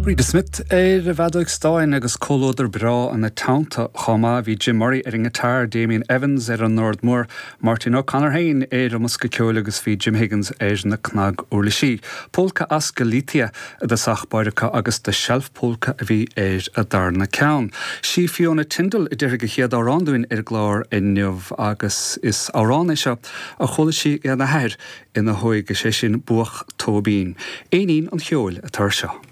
Bríde Smith ar an bhfeadóig stáin agus comhluadar breá ina teannta chomh maith. Bhí Jim Murray ar an ngiotár, Damien Evans ar an ndord mór, Máirtín O'Connor féin ar an mbosca ceoil agus bhí Jim Higgins ar na cnaguirlisí. Pólca as Galicia i dtosach báire acu agus The Shelf Polka a bhí ar an darna ceann. Sí Fiona Tindall a déarfaidh an chéad amhrán dúinn ar an gclár inniu agus is amhrán é seo a chuala sí óna hathair ina hóige, sé sin Buach Tóibín. Éinín an Cheoil atá ar seo.